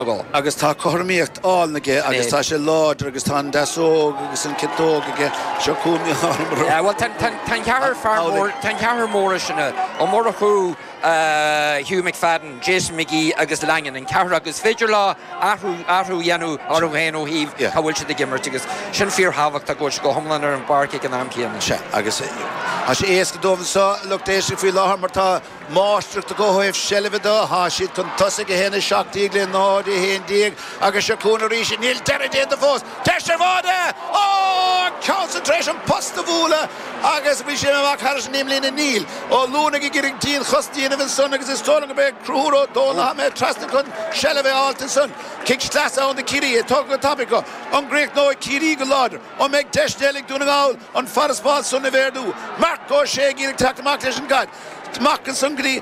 Gall. Agus tá cothromaíocht álainn aige agus tá sé láidir agus tá an deasóg agus an ciotóg aige. Seo chugainn Mícheál Ó Murchú. Yeah, bhuel, tá an ceathrar fear mór, tá an ceathrar mór sin, Ó Murchú, Hugh McFadden, Jason McGee agus Langan, an ceathrar acu. Is féidir leo athrú, athrú a dhéanamh orthu féin ó thaobh cá bhfuil siad ag imirt agus sin fíorthábhachtach go bhfuil siad go hiomlán ar an bpáirc ag an am céanna. Sea, agus tá sé éasca dóibh anseo, lucht éisteachta faoi láthair mar tá Máistreacht acu ó thaobh seilbhe de, tá siad chun tosaigh, 1, 17 le 0, 11, agus seo chugainn arís, níl deireadh déanta fós, deis ar bháide! Ó! An ceann san tar éis an post a bhualadh agus bhí sé amach thairis an imlíne, níl. Ó Luanaigh ag iarraidh dianchosaint a dhéanamh ansan agus is dóigh liom gurb é Conchúr Ó Dónaill atá imithe trasna chun seilbh a fháilt ansan. Cic sleasa ann do Chiarraí, é tógtha go tapaidh acu. An gcríochnóidh Ciarraí go láidir? An mbeidh deis eile ag Dún na nGall an farasbarr san a mhéadú? Marc Ó Sé ag iarraidh teacht amach leis an gcaid. Amach ansan go dtí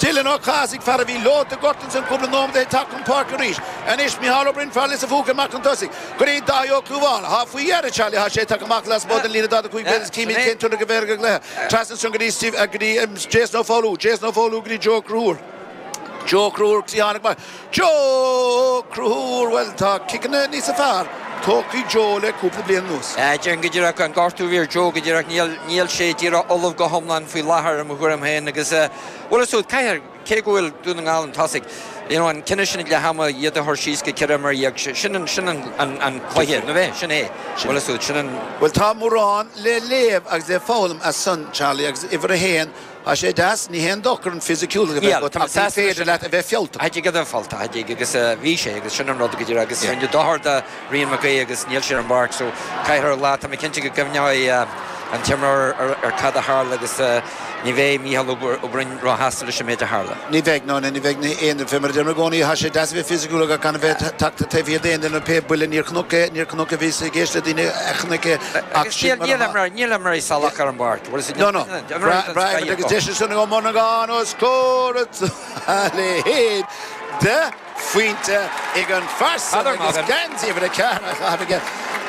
Dylan Ó Cathasaigh, fear a bhí leonta gortaithe ansan cúpla nóiméad ó shin ag teacht chun páirce arís. Anois Micheál Ó Broin, fear Lios an Phúca amach chun tosaigh go dtí Dáithí Ó Clúmháin. Thá faoi dheireadh, Charlie, thá sé tagtha amach lasmuigh den líne 45 méadar is címid cén tionchar a bheidh ar an gcluiche. Trasna ansan go dtí Steve, go dtí Jason Ó Foghlú, Jason Ó Foghlú go dtí Joe Conchúr. Joe Conchúr, tháinig amach. Joe Conchúr, bhuel tá ciceanna níosa fearr tógtha ag Joe le cúpla bliain anuas. Déarfainn go díreach an gortú a bhí ar Joe go díreach níl, níl sé díreach ullamh go hiomlán faoi láthair i mo thuairim féin agus bhuel is caithfidh, cé go bhfuil Dún na nGall chun tosaigh, you know an cinneadh sin ag leath ama iad a chur síos go 14 imreoir, sin an, sin an, an, an cluiche, nó bheith, sin é, bhuel is sin an. Bhuel tá mórán le léamh agus le foghlaim as san, Charlie, agus uimhir a haon, Tá sé deas, ní haon dochar an fisiciúlacht a bheith agat ach ní féidir leat a bheith fealltach. Tha tig a bheith fealltach, tha tig, agus bhí sé agus sin an rud go díreach agus rinneadh dochar do Rian Mac Aoidh agus níl sé ar an bpáirc so caithfear a lá, tá mé cinnte go gcuimhneoidh an t-imreoir ar cad a tharla agus ní bheidh Mícheál Ó Broin róshásta leis an méid a tharla. Ní bheidh, no, ní bheidh aon duine, mar a deirim i gcónaí, tá sé deas a bheith fisiciúil ach gan a bheith tagtha taobh thiar d'aon duine, pé buille, níor chonac é, níor chonac é, bhíos ag éisteacht le daoine a chonaic é ach sin mar atá. Níl imreoirí salach ar an bpáirc. No, no. Breá agus deis ansan ag Ó Monacháin os comhair a leithéid de phointe ag an fear san agus geansaí uimhir 4 á chaitheamh aige.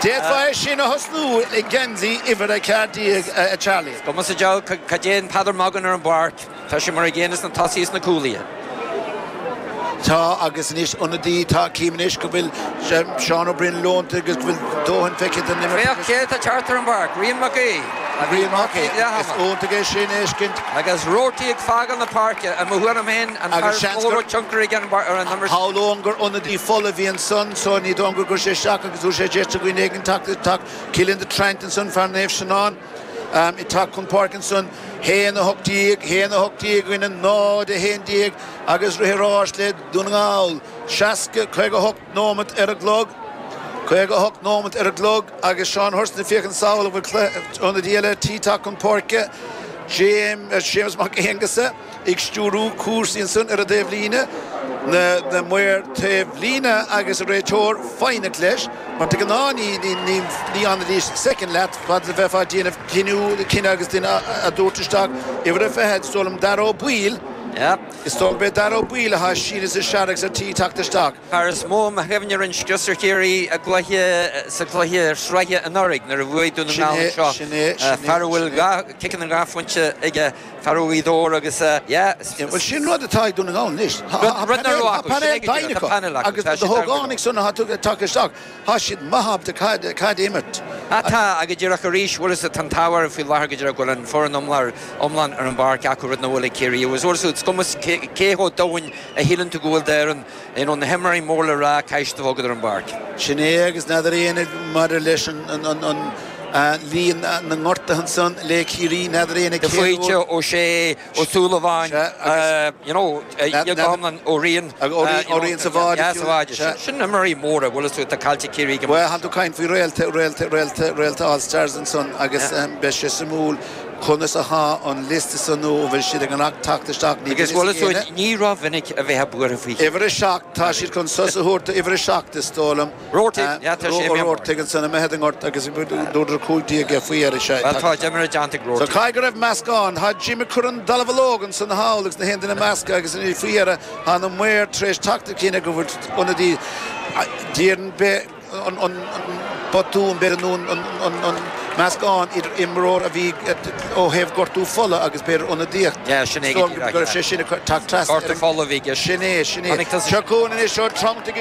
D'fhéadfá é sin a thosnú le geansaí uimhir 14, a Charlie. Is cuma sa diabhal cad déanann Peadar Magan ar an bpáirc. Tá sé mar an gcéanna sna tosaithe is na cúlaithe. Tá, agus anois ionadaí, tá, cím anois go bhfuil Seán Ó Broin leonta agus go bhfuil dóthain feicthe den imirt Féach cé atá ag teacht ar an bpáirc, Rian Mac Aoidh, a bhí Rian Mac gortaithe Aoidh, ag is leath ama. iontach é sin a fheiscint. Agus Roarty ag fágáil na páirce, i mo thuairim féin, an Agus fear is seans mó a gur. raibh tionchar aige ar an imirt. Shamhlóinn gur ionadaí fola a bhí ansan so ní dóigh liom gur chuir sé isteach agus dúirt sé deis do dhaoine éigin teacht, teacht. Cillian de Traint ansan, fear Naomh Seanán. Ag teacht chun páirce ansan, 1, 18, 1, 18 i gcoinne 0, 11 agus rith an ráis le Dún na nGall. 60, 58 nóimeat ar an gclog, 58 nóimeat ar an gclog agus Seán Thurston ag féachaint sall an bhfuil ionadaí eile tí teacht chun páirce. James, Séamus Mac Aonghusa. ag stiúrú cúrsaí ansan ar an dtaobhlíne, na maoir taobhlíne agus an réiteoir foighneach leis, mar de ghnáth ní fhanfaidís soicind leat fad is a bheifeá ag déanamh cinneadh, cinneadh agus duine á dtabhairt isteach. Uimhir a 20, is dóigh liom Dara Ó Baoill, is dóigh gurb é Dara Ó Baoill atá ag síneadh is ag searradh agus ar tí teacht isteach. Fear is mó i mo chuimhne a rinne scrios ar Chiarraí i gcluiche sa chluiche sraithe anuraidh nuair a bhuaigh Dún na Sin nGall é, anseo. sin é, sin é, Fear a bhfuil sin é. dhá, ciceanna 2 phointe aige. Fear ó Ghaoth Dobhair agus yeah. Bhuel sin rud atá ag Dún na nGall anois. Rud nach raibh Tá acu, sin painéal é go doimhin díreach, tá acu painéal acu, agus tá na siad ar go leor. hógánaigh san atá tagtha isteach, tá siad maith ábalta caid a imirt. Ah tá, agus díreach arís, bhfuil fhios agat, tá an t-ádh orthu faoi láthair go díreach go bhfuil an foireann iomlán iomlán ar an bpáirc acu, rud nach bhfuil ag Ciarraí. Agus bhfuil fhios agat, is cuma cé chomh domhain a shíleann tú go bhfuil d'fhoireann, you know, na himreoirí mór le rá, caithfidh siad a bheith agat ar an bpáirc. Sin é agus n'fheadar éinne maidir leis an líon na ngortuithe ansan le Ciarraí, n'fheadar éinne De cén uair. Faoite, Ó Sé, Ó Súilleabháin, you know, iad go hiomlán, Ó Riain, Ó Riain sa bháide yeah, sa bháide. Sin imreoirí móra, bhfuil fhios agat, atá caillte ag Ciarraí go Bhuel, tá tú ag caint faoi réalta, réalta, réalta, réalta All Stars ansan agus beidh sé suimiúil conas athá an liosta san nó an bhfuil siad ag fanacht teacht isteach, ní Agus bhfuil bhfuil fhios fhios ag agat, éinne. ní rómhinic a bheifeá buartha faoi Chiarraí. Uimhir 7, tá siad chun sos a thabhairt do uimhir 7, is dóigh liom. Roarty, yeah, tá sé imithe amach. Roarty ansan imithe den ngort agus dúradar 15 é faoi dheireadh, sea. Bhuel, tá d'imir déanta ag So Roarty. caithfidh go raibh meascán. Tá Jim ag cur an dallamullóg ansan thall agus na haon duine measctha agus faoi dheireadh tá na maoir tar éis teacht ar chinneadh go bhfuil ionadaí déarfainn an botún, b'fhéidir, nó an. meascán idir imreoir a bhí ó thaobh gortú fola agus b'fhéidir ionadaíocht. Yeah, sin é go díreach, yeah. Go raibh sé sin ag teacht trasna. Gortú fola a bhí i gceist. Sin é, sin é. Seo chugainn anois ó Trump.